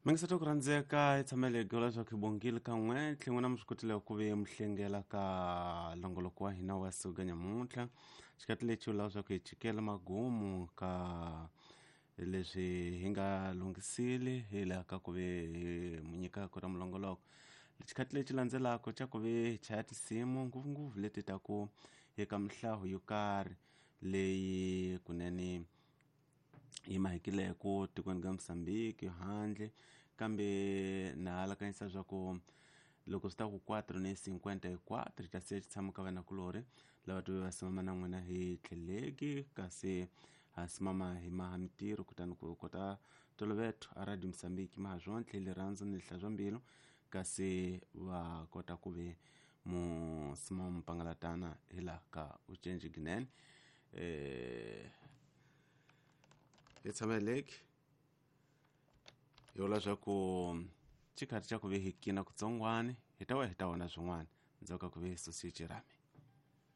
Mingiseti ku rhandzeka hi tshamele hi gula swa ku hi bongile kan'we tlhe n'wina mi swi kotile ku ve mi hlengela ka longoloko wa hina wa siku ka nyamuntlha. Xikati lexi vula swa ku hi chikela magumu ka leswi hi nga lunghisile hi laha ka ku ve hi mu nyika ku ra mulongoloko. Xikati lexi landzelaka xa ku ve hi chaya tinsimu ngopfungopfu leti ta ku eka mihlaho yo karhi leyi kunene yi mahekileko tikweni ka Mozambique handle, kambe na halakanyisa swa ku loko swi ta ku 4:54 hi ta siya xitshamo ka vanakulorhi lava tive va simama na n'wina hi tlheleki, kasi ha simama hi maha mitirho kutani ku kota toloveto a Radio Mozambique maha swontlhe lirhandzu ni lihlazwa mbilu, kasi va kota ku ve mu simama mupangalatana hi laha ka ucenji ginene. Hi tshameleki hi vula swa ku xikhathi xa ku ve hi kina kutsongwani hi ta wa hi ta vona swin'wana ndzhaku ka ku ve hi susiye xirhami.